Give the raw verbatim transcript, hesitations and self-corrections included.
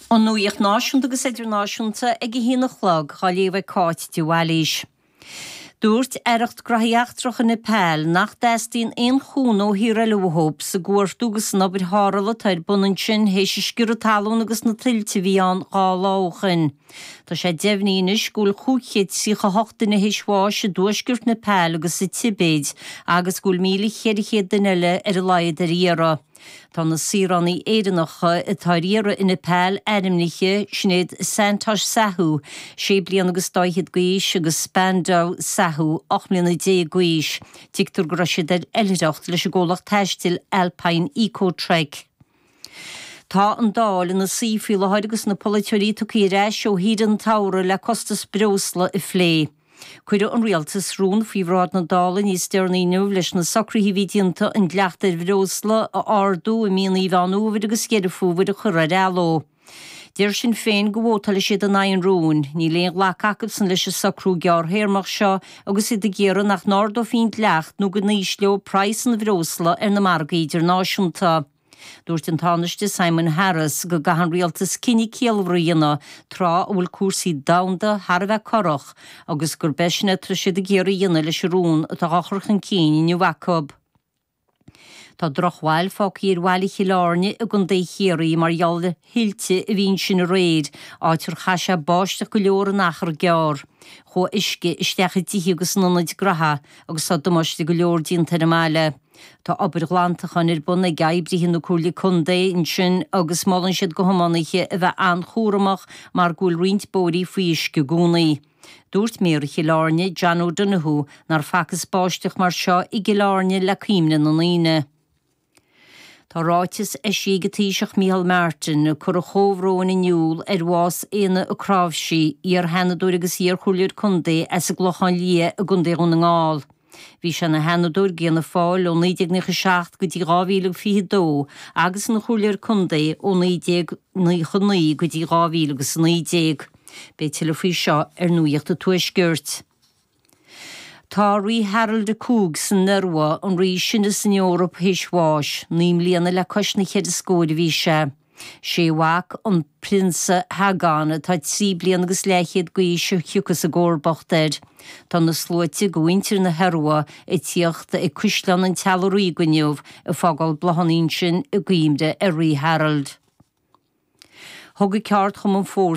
An nuacht náisiúnta agus idirnáisiúnta ag a haon a chlog á léamh ag Cáit de Bhailís. Dúirt Aireacht Gnóthaí Eachtracha Nepal nach dteastaíonn aon chúnamh ó thír eile uathu sa gcuardach agus san obair tharrthála atá ar bun ansin théis an sciorradh talún agus na tuilte a bhí ann dhá lá ó shin. Tá sé deimhnithe anois go bhfuil cúig chéad tríocha hocht duine théis bháis i dtuaisceart Nepal agus sa Tibéid agus go bhfuil míle ceithre chéad duine eile ar a laghad ar iarraidh. Tá na saoránaigh Éireannacha atá ar iarraidh i Nepal ainmnithe Sinéad Santosh Sahu, sé bliana agus dá fhichead d'aois agus Spando Sahu, ocht mbliana déag d'aois. Tuigtear go raibh siad ar oilithreacht leis an gcomhlacht taistil Alpine Eco Trek. Tá an Dáil ina suí faoi láthair agus na polaiteoirí tugtha ar ais ó shaoire an tsamhraidh le costas breosla a phlé. Cuireadh an rialtas rún faoi bhráid na Dála níos deireanaí inniu leis na socruithe a bhí déanta an dleacht ar bhreosla a ardú i mí Mheán Fhómhair agus Dheireadh Fómhair a chur ar athló. Deir Sinn Féin go vótálfaidh siad in aghaidh an rúin, níl aon ghlacadh acusan leis an socrú gearrthéarmach seo agus iad ag iarraidh nach n-ardófaí an dleacht nó go n-ísleofaí praghas an bhreosla ar na margaí idirnáisiúnta. Dúirt an Tánaiste Simon Harris go gcaithfidh an rialtas cinneadh ciallmhar a dhéanamh tráth a bhfuil cúrsaí domhanda thar a bheith corrach agus gurb é sin atá siad ag iarraidh a dhéanamh leis an rún atá á chur chun cinn inniu acu. Tá drochbhail fágtha ar bhaile Chill Airne i gContae Chiarraí mar gheall ar thuilte a bhí ansin aréir, áit ar chaith sé báisteach go leor in achar gearr. Chuaigh uisce isteach i dtithe agus in ionaid gnaithe agus tá damáiste go leor déanta ar an mbaile. Tá obair ghlantacháin ar bun ag oibrithe na Comhairle Contae ansin agus molann siad do thiománaithe a bheith an-chúramach mar go bhfuil roinnt bóithrí faoi uisce i gcónaí. Dúirt Méara Chill Airne, John O'Donoghue, nár facthas báisteach mar seo i gCill Airne le cuimhne na ndaoine. Tá ráiteas eisithe ag an Taoiseach Micheál Martin ag cur a chomhbhróin in iúl ar bhás Éanna Ó Cnáimhsí, iar-sheanadóir agus iar-chomhairleoir contae as an gClochán Liath i gContae Dhún na nGall. Bhí sé ina sheanadóir d'Fhianna Fáil ó naoi déag nócha seacht go dtí dhá mhíle fiche dó agus ina chomhairleoir contae ó naoi déag nócha naoi go dtí dhá mhíle agus naoi déag. Beidh tuilleadh faoi seo ar Nuacht an Tuaiscirt. Tá rí Harald a cúig san Iorua an rí is sine san Eoraip théis bháis, naoi mbliana le cois na ceithre scóir a bhí sé. Sé a mhac an prionsa Haakon atá trí bliana agus leathchéad d'aois a thiocfas i gcomharbacht air. Tá na sluaite de mhuintir na hIorua ag tíocht ag Caisleán an Teaghlaigh Ríoga inniu ag fágáil bláthanna ansin i gcuimhne ar rí Harald. Thug an ceardchumann Fórsa